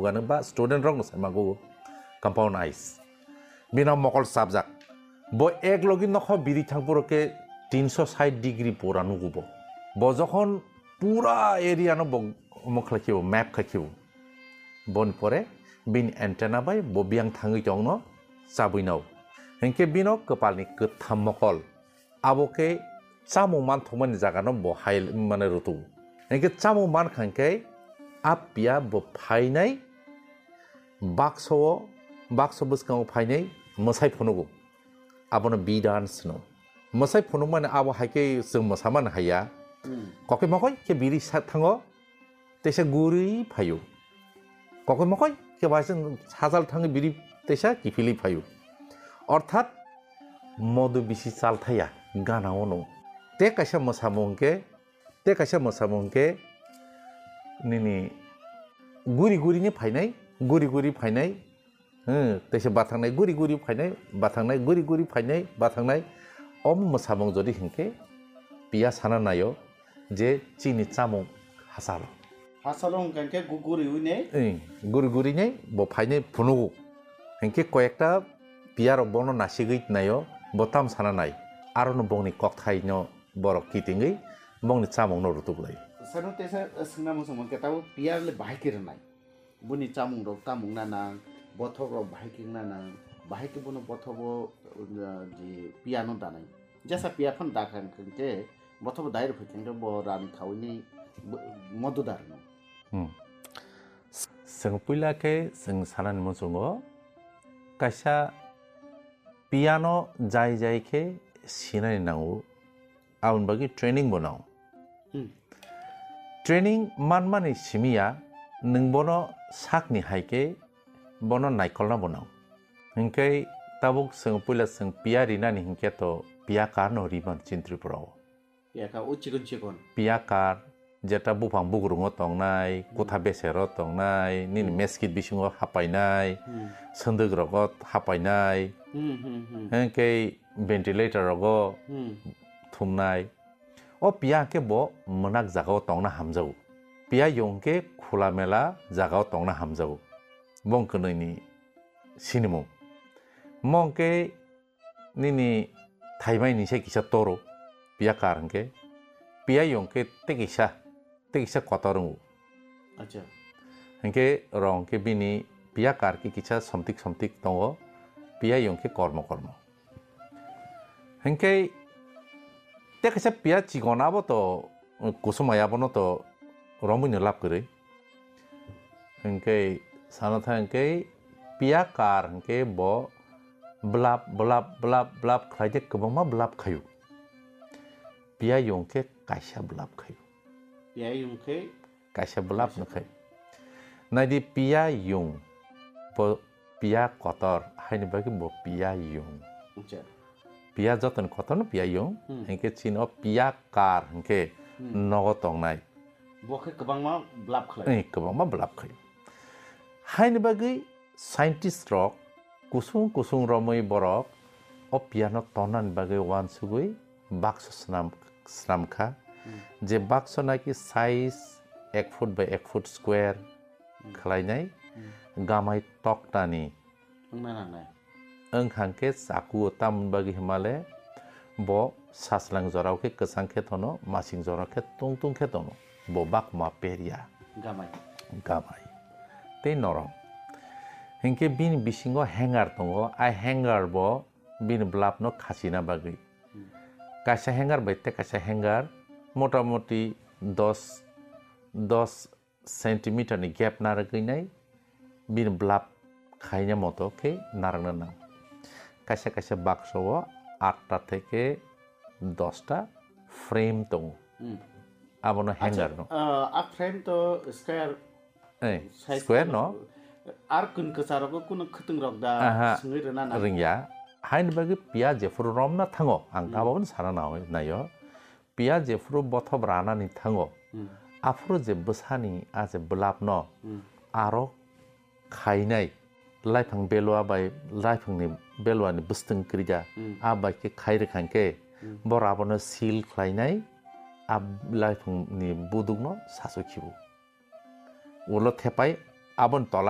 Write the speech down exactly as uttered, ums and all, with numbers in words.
Ano ba student rokno sai mago compound eyes. Bino mokol sabjak. Bo ek logi nokho biri thang puro khe tinsho sait degree pura nugo bo. Bo jokhon pura area no bo omo khlai khibo, map khai khibo. Boni pore bini antenna bai bo biyang thangwi tongno chabwi nao. Hinkhe bino kwpalni kwtham mokol. Abo khe chamung manthokmani jagano bo hai mane rutugo. Hinkhe chamung mankha hinkhe a piya bo phainai bakso o, bakso bwskango phainai mwsai phunugo. Abono bee dance hwno. Mwsai phunukmani abo hai khe chwng mwsamani haiya. Hmm. Kokoi mokoi khe biri sa thango, teisa guri phaio. Kokoi mokoi khe bai chwng sajal thangwi biri teisa kiphilwi phaio. Orthat modo bisi chal thaya gana ono. Te kaisa mwsamung khe, te kaisa mwsamung khe nini guri guri ni phainai, guri guri phainai, hmm, teisa bathangnai guri guri phainai, bathangnai guri guri phainai, bathangnai. Om mwsamung jodi hinkhe piya sana naio je chini chamung hasalo. Hasalo hwnkha khe gu-, guri ui nei? Eng, guri guri nei bo phainai phunugo. Hinkhe koyekta piya rok bono nasigwi naio, bo tam sana nai. Arono bongni kokthaino borok kitingwi bongni chamungno rutuk lai. Sano teisa swngna muchung mankhe tabuk piya le bahai khe rwnai. Boni chamung rok tamung na nang, bothok rok bahai khe wngna nang, bahai khe bono bothobo, uh, je piya no danai. Jesa piya phano dakha hwnkhe bothop dai rw phaikhe bo rani khaui ni bo-, modo da rwno. Hmm. Chwng puila khe chwng sanani muchungo kaisa piano jai jai khe sinani nango, aboni bagwi training bo nango. Hmm. Training manmani simi ya, nwng bono sakni hai khe bono naikolna bo nang. Hinkhe tabuk chwng puila chwng piya rinani hinkhe to piya karno riman chini Tripura o. Piya kar o chikon chikon. Piya kar, jeta buphang bugrungo tongnai, hmm, kutha besero tongnai, nini, hmm, meskit bisingo hapainai, hmm, swndwk rogo hapainai, hmm, hmm, hmm, hinkhe ventilator rogo, hmm, thumnai. O piya hwnkhe bo mwnak jagao tongna hamjago. Piya yung hwnkhe khula mela jagao tongna hamjago. Bo wng kwnwi ni sinimung. Mo hwnkhe nini thaimai ni se kisa toro, piya kar hwnkhe. Piya yung hwnkhe tei kisa, tei kisa kotor wngo. Acha. Hwnkhe rong khe bini piya kar khe kisa somtik somtik tongo, piya yung khe kormo kormo. Hinkhe tei kaisa piya chikon abo to kusumai abono to romwi no lab kwrwi. Hinkhe sana thang hinkhe piya kar hinkhe bo blab blab blab blab khlai de kwbangma blab khaio. Piya yung khe kaisa blab khaio. Piya yung khe kaisa blab no khai. Naidi piya yung, bo piya kotor, haini bagwi bo piya yung. Acha. Piya jotoni kotor no piya yung, hmm, hinkhe chini o piya kar hinkhe, hmm, nogo tongnai. Bo khe kwbangma blab khlai. Eh, kwbangma blab khai. Haini bagwi scientist rok kusung kusung romwi borok o piano tonnani bagwi uansugwi baksa swnam, swnam kha. Hmm. Je baksa naki size ek foot by ek foot square, hmm, khlainai, hmm, gamai toktani wngna nangnai. Wngkha hwnkhe chakuo tamoni bagwi hwnmale bo sachwlang jorao khe kwchang khe tono, masing jorao khe tungtung khe tono, bo bakma peria. Gamai. Gamai. Tei norom. Hinkhe bini bisingo hanger tongo, a hanger bo bini blab no khachina bagwi. Hmm. Kaisa hanger bai tei kaisa hanger motamoti dos, dos centimeter ni gap narwgwi nai bini blab khaina moto khe narwkna nang. Kaisa kaisa baksa o atta theke dosta frame tongo. Hmm. Abono acha, hanger no. Ah, a frame to square. Eh, size square no. Ar kun kwcharo ko kuno khwtwng rok da. Aha, swngwi rwna nang. Rwngya. Haini bagwi piya jephuru romna thango, ang, hmm, tabokno sana nai-, naio. Piya jephuru bothop ranani thango, hmm, aphuru je bwsani a je blab no, hmm, aro khainai, laifang belua bai laifangni beluani bwswtwng kwrwida, hmm, a bai khe khai rwkha hwnkhe, hmm, bo rabono seal khlainai, a laifangni budukno sasu khibu. Ulo thepai aboni tola